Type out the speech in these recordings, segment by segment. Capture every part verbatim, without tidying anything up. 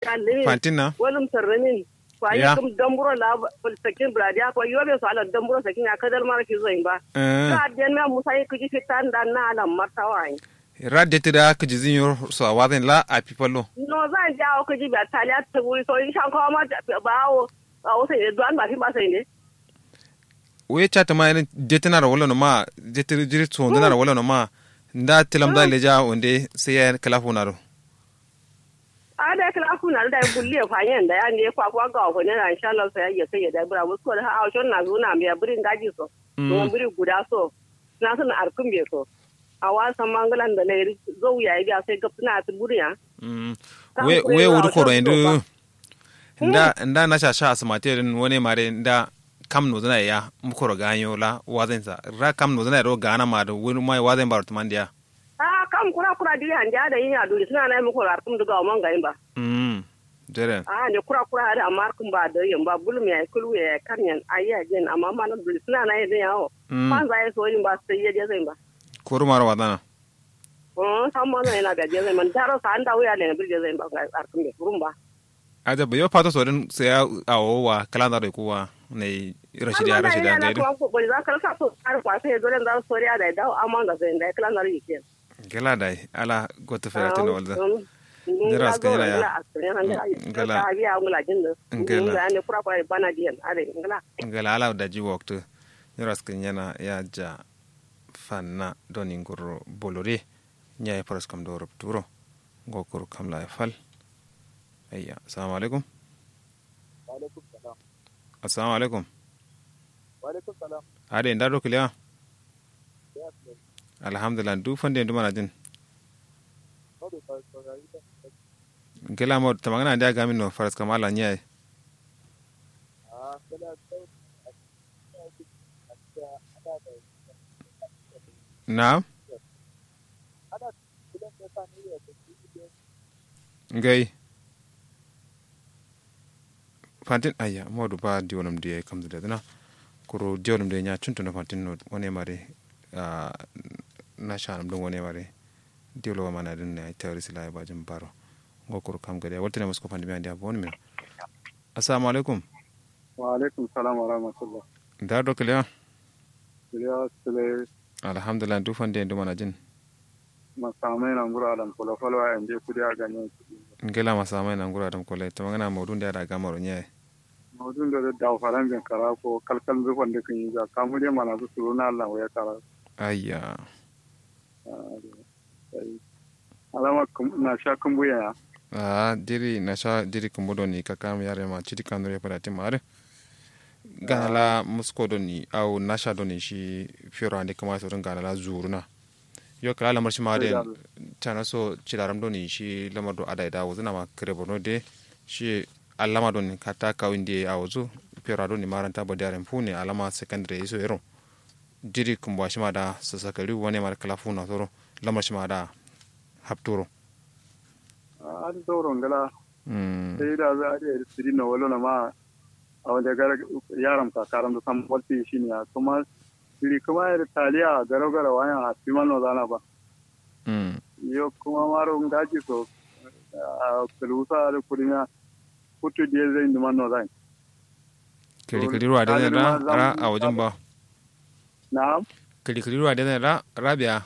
Fantin na. Walum sarramin. Kwa yi kum damburo la. Sakin bradiya kwa yobe so ala damburo sakin ya kadal mara ki zoin ba. Ka den me musa yi kiji fitan dan na ala martawa yi. Ra deti da kiji zin yo so a wazin la a pipallo. No zan ja o kiji ba taliya ta wuri so in shan kawo ma ba o. A o sai duwan ba fin ba sai ne. Wu ye ca tǝma yedǝn detinaro wallono ma. Detǝ jiri tǝ wondǝnaro wallono ma. Nda tǝlamza leja wonde sai yayen kǝla funaro. A dai kǝla funaro dai gulliye fanyen dai ande kwa kwa gawo fanyen inshallah sai yayye sai ye dai bǝra musko dǝ ha awo shon na zuna mbiya bǝri ngaji so. Bǝri guda so. Na sǝn arkǝmbe so. Awa samma ngǝlan da lairi zau yayi biya sai gabtǝna atǝ buriya. Wu ye wudǝ koro yendǝ. Nda nda nasha sha asǝmate dǝn wane mare nda kam nozǝna ye ya mukoro ganyo la wazainsa ra kam nozǝna ye do gana ma dǝ wani mai wazain baro tǝmandiya. A'a kam kura kura diri andiya da yin aduri sǝna nayi mukoro arkǝm dǝ gawo man gayin ba. Jere. A'a ne kura kura adǝ amma arkǝm ba dǝ yin ba bulum yayi kǝlu yayi karnyen ayi ajen amma mana duri sǝna nayi dǝ yawo. Fanza ye so yin ba sai ye dezain ba. Kuru maro wazana. Samma no ina gaje zai man daro sa anda wuya ne bije zai ba arkun be kurun ba. Aja ba yo fato so din sai ya awo wa kala zaro ku wa ne rashidi ya rashidi ga do. Ko bari za ka rasa so har kwa sai dole zaro soriya da dawo amma ga sai da kala zaro yake. Gela dai ala goto fera tino walda. Jira aska yana ya. Gela. Gela ne kura kura bana diyan are gela. Gela ala da ji waktu. Jira aska yana ya ja. Fanna doni ngurro bolore. Nyaye faraskam do rupturo. Ngo kuru kamla ye fal. Ayya assalamu alaikum. Assalamu alaikum. Ade nda do kiliya. Alhamdulillah ndu fande ndu manajin. Ngila mo tamangana ndia gamin no faraskam ala nyaye. Naam. Ngai. Fantin ayya modu ba diwolum diye kamzu ledǝna. Kuru diwolum diye nya cuntuno fantin no wane mare. Nashanum dǝn wane mare. Diwolo wa mana dǝn ne ai tawari sila ai bajin baro. Ngo kuru kam gade waltǝne musko fandimiya ndia bonmiya. Assalamu alaikum. Wa alaikum salam wa rahmatullah. Nda do kǝliya. Kǝliya sǝlai. Alhamdulillah ndu fande ndu manajin. Masamai na nguro adam kolo falo a yande kudi a ganyen kudi. Ngila masamai na nguro adam kolo tamangana maudu ndia da gamaro nyaye. Maudu ndia da dawo faran bin kara ko kalkal ndu fande kǝnyi ja kamu de mana su suru na allah waya kara. Ayya. Alama nasha kǝmbu yaya. Aa jiri nasha jiri kǝmbu doni kakam yarema cidi kanure fadatin ma adǝ. Gana la musko doni au nasha doni shi fero ande kǝma sodǝn gana la zuruna. Yo kǝla lamar shima adǝ. Cana so cidaram doni shi lamar do adai da wuzǝna ma kǝre borno de. Shi allama doni katta kawin de awozu. Fero doni maranta badiyarin fune alama secondary iso yero. Jiri kǝmbuwa shima da sasakari wane mare kǝla funa soro. Lamar shima da hapturo. Adǝ zauro ngla. Sai da za adǝ yadǝ sǝri no walo nama. Awo nde gara yaram kakaram dǝ sam walti shiniya kǝma. Sǝri kǝma yadǝ taliya garo garo wanya a fima no zana ba. Yo kǝma maro ngaji so. Kǝlusa adǝ kudimiya. Kuttu diye zai nduma no zai. Kǝli kǝli ruwa de zai ra ra awojin ba. Na'am. Kǝli kǝli ruwa de zai ra ra biya.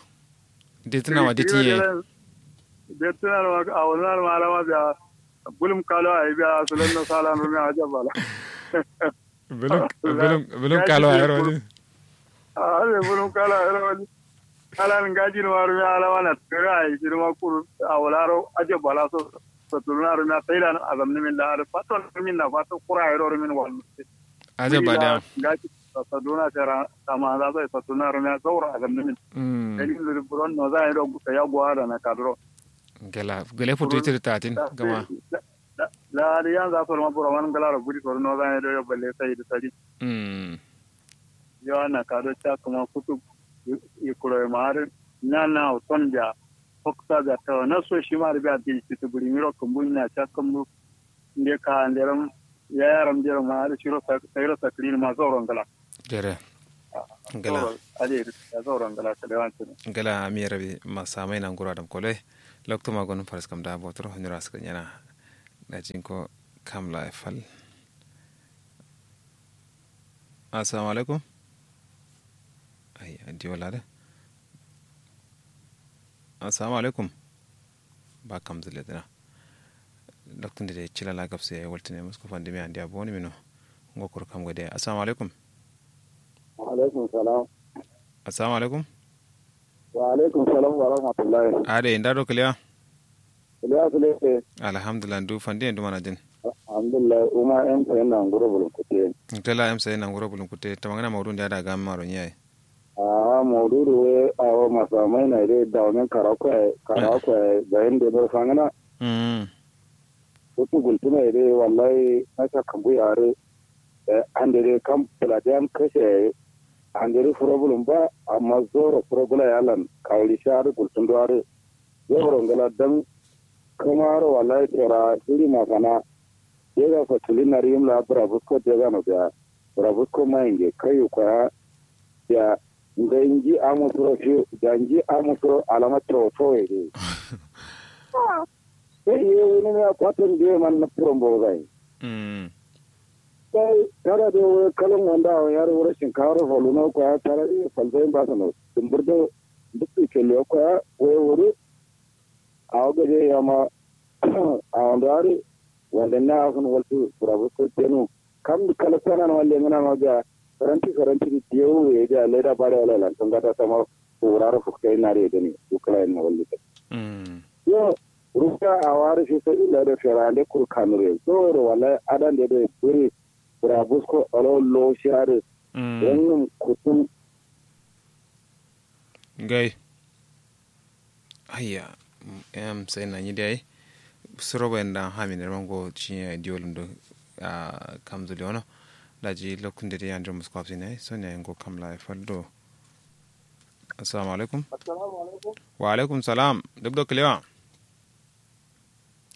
De tǝna ma de tiye. De tǝna ma awojin ma alama biya. Bulum kalo ayi biya sulan no sala no me aja bala. Bulum bulum bulum kalo ayi ro. A'a bulum kalo ayi ro. Kalan ngajin ma rumiya alama na tǝra ayi shirma kuru. Awolaro aje bala so. Sotuluna rumiya tailan azamni min la har faton rumin na fato kura ayi ro rumin wal. Aje bala. Ngaji sotuluna sera tama za so sotuluna rumiya zauro azamni min. Dalil zuri buron no za ayi ro gusa ya guwa da na kadro. Gela gele futu itir tatin gama. La har yanza so ma buro man gala ro gudi so no za ayi ro yo balle sai da sadi. Yo ana kado ca kǝma futu. Ikuro ye ma adǝ nana awo ton biya. Foksa biya tawa naso shima adǝ biya dil citǝ bǝri miro kǝmbu nya ca kǝmbu. Nde ka nderam yayaram ndero ma adǝ shiro. Sairo sakǝrin ma zauro ngla. Jere. Ngla. Adǝ ye dǝ zauro ngla kalewan cǝno. Ngla amiye rabi masamai na nguro adam kolo ye. Loktu ma gonum faraskam da botoro nyiro askǝ nyena. Daji ngo kam laye fal. Assalamu alaikum. Ai, diwo lada. Assalamu alaikum. Ba kam zǝle dǝna. Loktu nde de cila la gabse waltǝne musko fandimiya andiya boni mino. Ngo kuru kam gade. Assalamu alaikum. Wa alaikum salam. Assalamu alaikum. Wa alaikum salam wa rahmatullahi. Ade nda do kiliya. Kiliya kiliya. Alhamdulillah ndu fandi ndu manajin. Alhamdulillah uma em sayin na nguro bulun kute. Kala em sayin na nguro bulun kute tamangana maudu nda da gam maro nyai. Aa maududu we awo masamai na ide dawumin karaku yayi karaku yayi bayin de bar fangana. Umm. Utu gultuna ide wallahi nasha kambu yare. Ande de kam buladiyan kashe yayi. Ande de furo bulun ba amma zoro furo bula yalan kawuli sha adu gultun do adu. Zoro ngala dan kamaro wallahi tera siri masana. Dega fatulin nari yim la bura busko dega no biya. Bura busko ma inge kayu kwaya. Biya ngai nji amu suro fiyo biya nji amu suro alama towo towo ye de. Sai ye wuni miya kwaton de man na furon bo zai. Sai tara de wai kalon wanda awon yaro wura shinkawar foluno kwaya tara de falzai ba sano dumbur do duk kelle kwaya wai wuri. Awo gaje yama. Awon do ari wanda na afun waltu burabusko tenu. Kam kala sanan walle ngana ma biya faranti faranti di diyo ye biya leda bare wala lan tun gata sama. Wuraro fuktai nare dani ukra en walle. Yo ruka awari fi sabilillah do ferande kuru kanure zoro wallahi adande do buri. Burabusko alo lo share. Wannum kutum. Gai. Ayya. Em sai na nyi dai. Suro bayan da hamin da mango ci ya diolum do. Kam zuli wono. Daji lokun da dai yanjo musko hafsi ne so ne ngo kam la faldo. Assalamu alaikum. Wa alaikum salam duk do kilewa.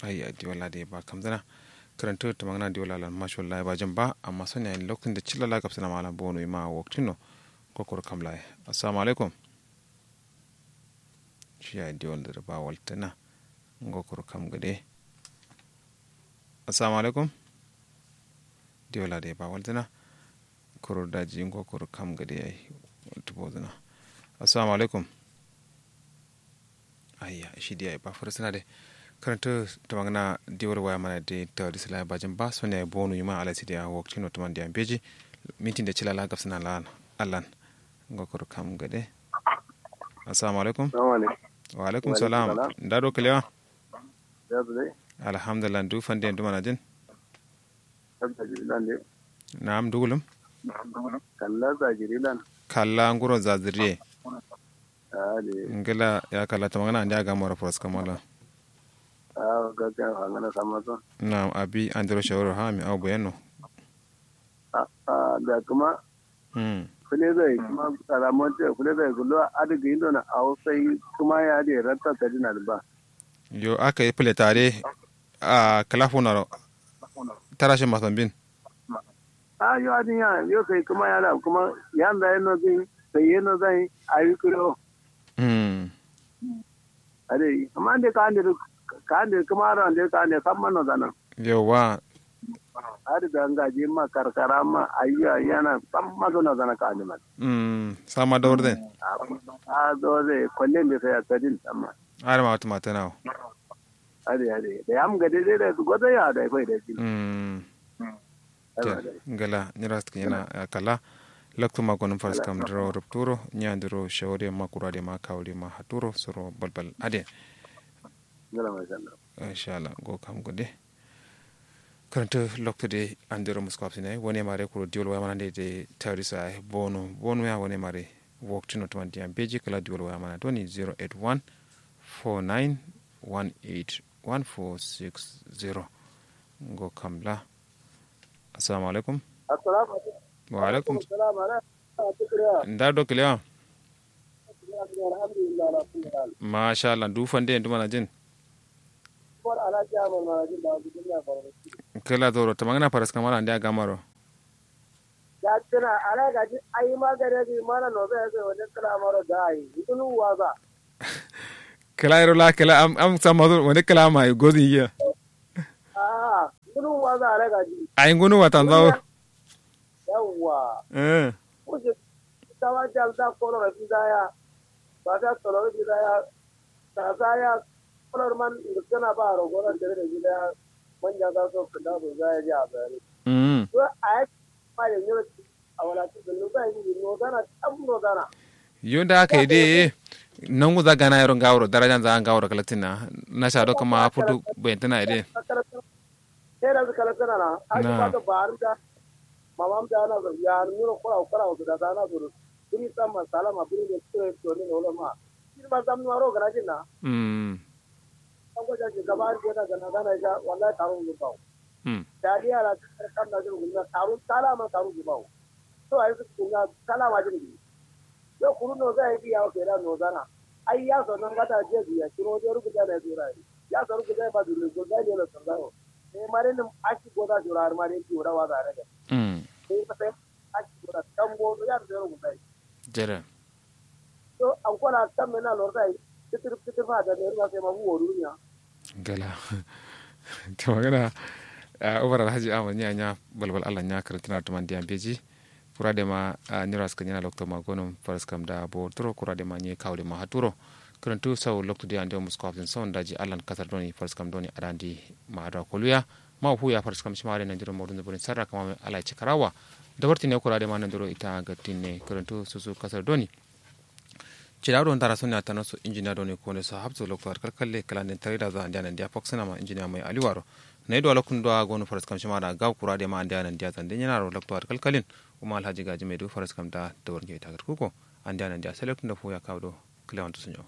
Ayya diwalla de ba kamzǝna. Kǝrantǝ tǝmangǝna diwalla lan masha wallahi ba jin ba amma sonya lokacin da cilla la gabsǝna ma lan bono ima waktino. Kokoro kam laye. Assalamu alaikum. Shiya diwalla dǝ ba waltǝna. Ngokoro kam gǝde. Assalamu alaikum. Diwalla de ba waltǝna. Koro daji ngokoro kam gǝde yayi. Waltǝ bozǝna. Assalamu alaikum. Ayya shi diya ba furusuna de. Karanta tamangana diwar waya mana de ta disla bajin ba sonya bonu yuma ala sidiya wakti no tamandi ambeji. Mintin de cilala gabsuna lan allan. Ngokoro kam gade. Assalamu alaikum. Wa alaikum salam. Ndado kalewa. Alhamdulillah ndu fande ndu manajin. Na'am dugulum. Kalla zajirilan. Kalla nguro zaziriye. Ngila ya kalla tamangana andi aga moro foros kamala. Awo gaskiya fangana samma so. Na'am abi andiro shawara ha mi awo boyenno. A'a da kuma. Fule zai kuma alamonte fule zai gullo adi gindo na awo sai kuma ya adi ratta sadina ba. Yo aka yi fule tare. A kala funaro. Tara shi masambin. A yo adin ya yo sai kuma ya da kuma ya da yeno zai sai yeno zai ayi kuro. Ade amma ande ka ande ka ande kuma aro ande ka ande samma no zana. Yawa. Ade da ngaji ma karkara ma ayya yana samma so na zana ka ande ma. Samma da urde. A da urde kolle ande sai asadin samma. Ade ma wata mata nawo. Ade ade da yam gade dai da godo ya da kai da shi. Ngala nyira sǝkǝnyena kala. Loktu ma gonum faraskam dǝro rupturo nyandiro shawari ma kurade ma kawuri ma haturo suro balbal ade. Inshallah go kam gode. Karanta loktu de andiro musko hapsina wane mare kuro diwol waya mana de tawrisa bono bono ya wane mare. Wokti no tumandi am beji kala diwol waya mana doni zero eight one four nine one eight one four six zero. Ngo kamla. Assalamu alaikum. Assalamu alaikum. Wa alaikum. Nda do kiliya. Masha Allah ndu fande ndu manajin. Kila zoro tamangana faras kamala nda gamaro. Jakkina ala gaji ayi ma gade gi mana no be be wani kila maro gai. Ndulu waza. Kila iro la kila am am samazo wani kila ma gozi iya. A'a, ngunu waza alai gaji. Ai ngunu watan zawo. Yawwa. Eh. Kuje tawa jalda koloro fizaya. Ba ta koloro fizaya. Sasaya. Kolor man ngutana ba rogoran dare da fizaya. Manja za so kunda so zaya ji a bayani. Mm. To ai ma yanyo awala ti zunnu zaya ji no zana tam no zana. Yo nda aka yi de. Nangu za gana yaro ngawuro darajan za ngawuro kalaktin na. Na sha do kama futu bayantana yi de. Tera zu kala sana na. Aki Na. Bato baru da. Mamam da na zo ya nuro kora kora zo da da na zo. Biri sama salama biri ne kure to ne wala ma. Biri ma zam nuwa ro gana jin na. Mm. An ko jaji gaba an ko da gana gana ja wallahi taro zo bawo. Mm. Daliya la kan na zo guna taro salama taro zo bawo. To ai su guna salama jin. Yo kuru no zai biya wa kera no zana. Ai ya so nan gata je biya kiro je rubuta na zura. Ya so rubuta ba dole go zai ne lo sanzayo. Sai mare nim aki goda jura har mare ki wada waza daga. Mm. Sai ka sai aki goda tambo ya da zero gudai. Jere. To an kona kan mena lor zai. Titir titir fa da ne ruwa sai ma huwo duniya. Gala. To magana. Ubar alhaji ahmad nya nya balbal allah nya karantina tuman diyan beji. Kura de ma nyiro askǝ nyina lokto ma gonum faraskam da bo turo kura de ma nyi kawu de ma haturo. Kǝrǝntu sau loktu de ande musko hafsin sau ndaji allan kasar doni faraskam doni adandi ma adwa koluya. Ma huya faraskam shima de nandiro modun zubrin sarra kama mai alai cikarawa. Dabartin ne kura de ma nandiro ita gattin ne kǝrǝntu susu kasar doni. Cida do ndara sonya tana so injiniya doni kone so hapso lokto ar kalkalle kala nden tarida za andiya nandiya faksina ma injiniya mai aliwaro. Nayi do alokun do a gonu faraskam shima da gaw kura de ma andiya nandiya zande nyina ro lokto ar kalkalin. Uma alhaji gaji mai du faraskam da dawar nge ita gatkuko. Andiya nandiya sai loktu da fuya kawo do. Kalewan tusunyo.